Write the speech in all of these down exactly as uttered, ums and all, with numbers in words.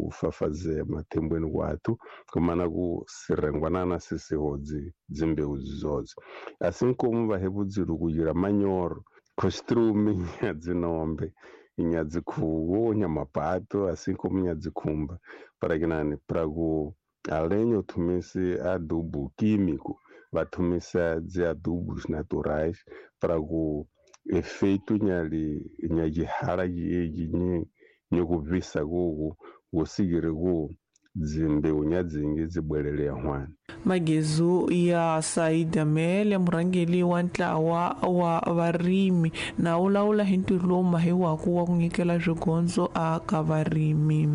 ku fafazea mathembweni kwathu kumana ku sirengwanana sisiho dzi dzimbeu dzodzi. Assim como vahebudziru kuyira manyoro costume nya dzinombe nya dzikhuwo nya mapato assim como nya dzikhumba para que nani para ku além o tumisi adubo químico vatumisa dzi adubos naturais para ku efeito nyali nyajihala yeji nyi nyokubvisa kuku kusikire ku dzimbeu nyadzingi dzibwelele hwana. Magezu ya Said Amel, murhangeri wa ntlawa wa varimi na wu lawula hi ntirho lowu mahiwaku wa ku nyikela swigondzo aka varimi.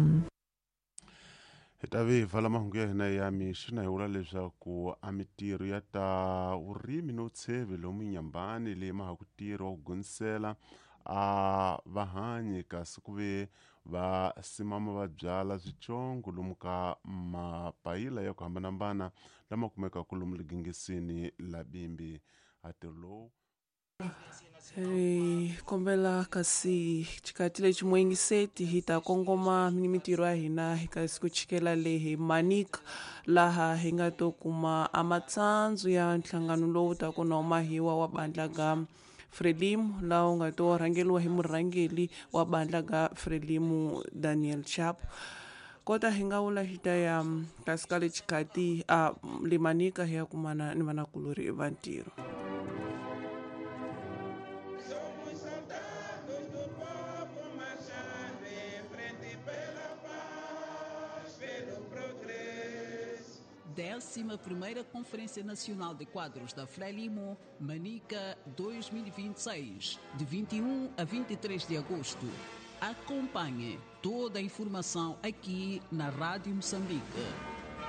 Hi ta ve hi vala mahungu ya hina ya mixo na hi vula leswaku a mitirho ya ta vurimi no tsheve lomu Nyambani leyi ma ha ku tirha wa ku gonisela a vahanyi kasi ku ve va simama va byala switsongo lomu ka mapayila ya ku hambanahambana lama kumekaka lomu ligingisini la Bimbi. A ntirho lowu Hi kombela kasi xikati lexi muyingiseti hi ta kongoma ni mitirho ya hina hi kasi ku chikela le hi Manika laha hi nga to kuma a matsandzo ya nhlangano lowu taka na mahiwa wa bandla ga Frelimo laha wu nga to rhangeriwa hi murhangeri wa bandla ga Frelimo Daniel Chapo. Kota hi nga vula hi ta ya kasi ka le xikati a le Manika hi ya kumana ni vanakulori va ntirho. Décima primeira Conferência Nacional de Quadros da Frelimo, Manica dois mil e vinte e seis, de vinte e um a vinte e três de agosto. Acompanhe toda a informação aqui na Rádio Moçambique.